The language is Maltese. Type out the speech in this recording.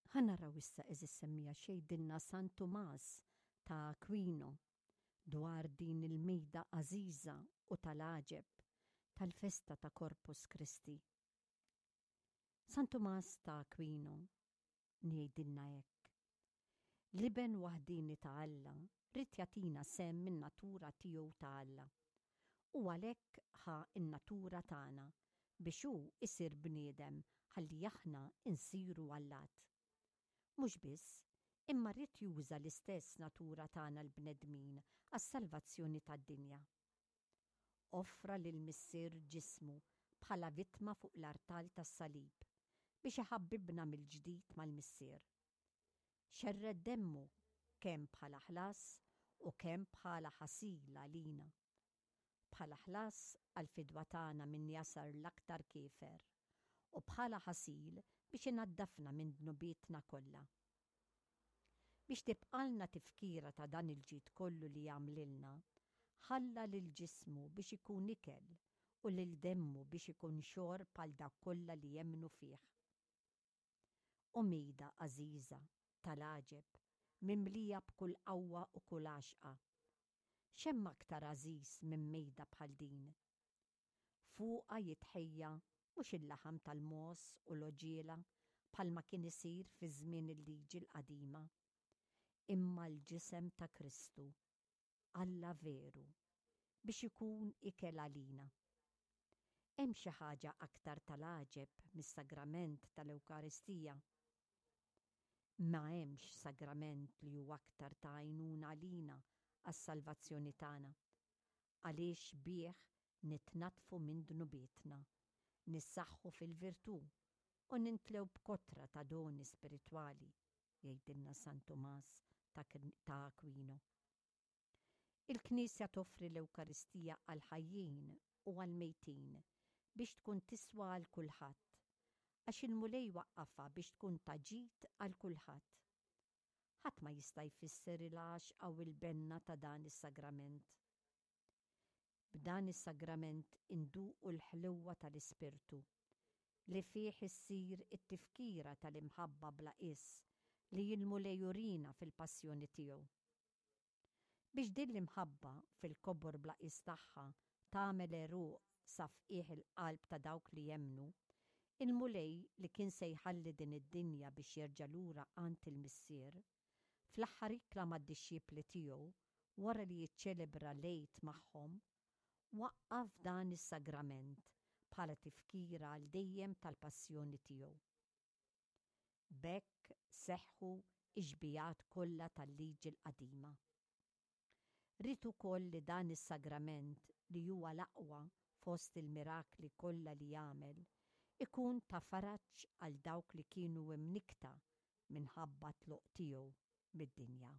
Ħa naraw issa għeżież semmiegħa x'jgħidilna San Tumas ta' Aquino dwar din il-mejda għażiża u tal-għaġeb tal-festa ta' Corpus Christi. San Tumas ta' Aquino jgħidilna hekk, L-Iben waħdieni ta' Alla ried jagħtina sehem min-natura tiegħu ta' Alla, u għalhekk ħa n-natura tagħna biex hu jsir bniedem ħalli aħna nsiru allat. Mhux biss, imma ried juża l-istess natura tagħna l-bnedmin għas-salvazzjoni tad-dinja. Offra lill-Missier ġismu bħala vittma fuq l-artal tas-salib biex iħabbibna mill-ġdid mal-Missier. Xerred demmu kemm bħala ħlas u kemm bħala ħasil għalina. Bħala ħlas għall-fidwa tagħna minn jasar l-aktar kiefer u bħala ħasil biex inaddafna minn dnubietna kollha. Biex tibqalna tifkira ta' dan il-ġid kollu li għamlilna, ħalla lil ġismu biex ikun ikel u lil demmu biex ikun xorb għal dawk kollha li jemmnu fih. O mejda għażiża, tal-għaġeb, mimlija b'kull qawwa u kull għaxqa! X'hemm aktar għażiż minn mejda bħal din? Fuqha jitħejja mhux il-laħam tal-mogħoż u l-għoġiela bħalma kien isir fi żmien il-Liġi l-Qadima, imma l-ġisem ta' Kristu, Alla veru, biex ikun ikel għalina. Hemm xi ħaġa aktar tal-għaġeb mis-sagrament tal-Ewkaristija? Ma hemmx sagrament li hu aktar ta' għajnuna għalina għas-salvazzjoni tagħna, għaliex bih nitnaddfu minn dnubietna, nissaħħu fil-virtù u nintlew b'kotra ta' doni spiritwali, jgħidilna San Tumas ta' Aquino. Il-Knisja toffri l-Ewkaristija għall-ħajjin u għall-mejtin biex tkun tiswa għal kulħadd, għax il-Mulej waqqafha biex tkun ta' ġid għal kulħadd. Ħadd ma jista' jfisser il-għaxqa u l-benna ta' dan is-sagrament. B'dan is-sagrament induqu l-ħlewwa tal-Ispirtu, li fih issir it-tifkira tal-imħabba bla qies li l-Mulej urina fil-passjoni tiegħu. Biex din l-imħabba, fil-kobor bla qies tagħha, tagħmel għeruq sa f'qiegħ il-qalb ta' dawk li jemmnu, il-Mulej li kien se jħalli din id-dinja biex jerġa' lura għand il-Missier, fl-aħħar ikla mad-dixxipli tiegħu, wara li jiċċelebra l-Għid magħhom, waqqaf dan is-sagrament bħala tifkira għal dejjem tal-passjoni tiegħu. B'hekk seħħu x-xbigħat kollha tal-Liġi l-Qadima. Ried ukoll li dan is-sagrament, li huwa l-aqwa fost il-mirakli kollha li għamel, ikun ta' faraġ għal dawk li kienu imnikkta minħabba t-tluq tiegħu mid-dinja.